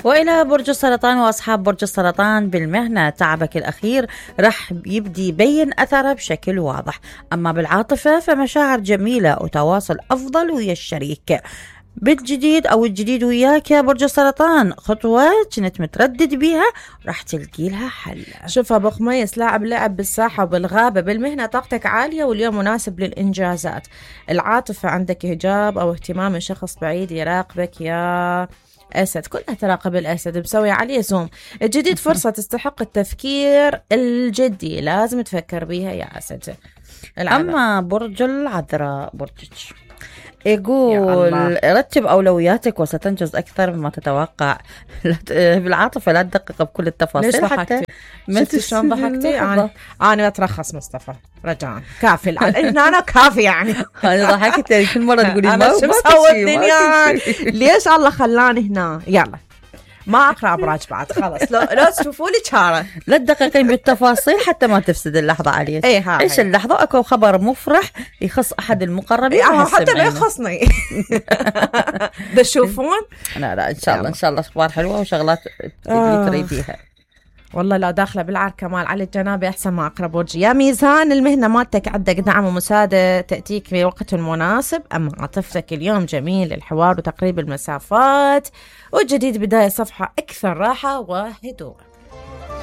وإلى برج السرطان وأصحاب برج السرطان، بالمهنة تعبك الأخير راح يبدي يبين أثره بشكل واضح. أما بالعاطفة فمشاعر جميلة وتواصل أفضل ويا الشريك. بالجديد أو الجديد وياك يا برج السرطان، خطوة كنت متردد بيها راح تلقي لها حل. شوف أبو خميس، لاعب لعب بالساحة وبالغابة. بالمهنة طاقتك عالية واليوم مناسب للإنجازات. العاطفة عندك إعجاب أو اهتمام من شخص بعيد يراقبك يا أسد، كلها تراقب الأسد مسوي عليه زوم. الجديد فرصة تستحق التفكير الجدي، لازم تفكر بيها يا أسد. أما برج العذراء برجك يقول رتب أولوياتك وستنجز أكثر مما تتوقع. بالعاطفة لا تدقق بكل التفاصيل. حتى شفتي شلون ضحكتي؟ أنا أترخص مصطفى رجاء، كافي أنا كافي يعني. أنا ضحكت يعني كل مرة تقولي أنا شو مسوي الدنيا، ليش الله خلاني هنا؟ يلا ما أقرأ أبراج بعد خلاص. لو تشوفوا لي شارة، لا تدققين بالتفاصيل حتى ما تفسد اللحظة عليك. عيش اللحظة. أكو خبر مفرح يخص أحد المقربين حتى ما يخصني. تشوفون؟ لا إن شاء الله إن شاء الله أخبار حلوة وشغلات تريديها. والله لا داخله بالعار كمال علي الجنابي احسن ما اقرب وجهي. يا ميزان، المهنه مالتك عندك دعم ومساعده تاتيك في وقت مناسب. اما عاطفتك اليوم جميل الحوار وتقريب المسافات، والجديد بدايه صفحه اكثر راحه وهدوء.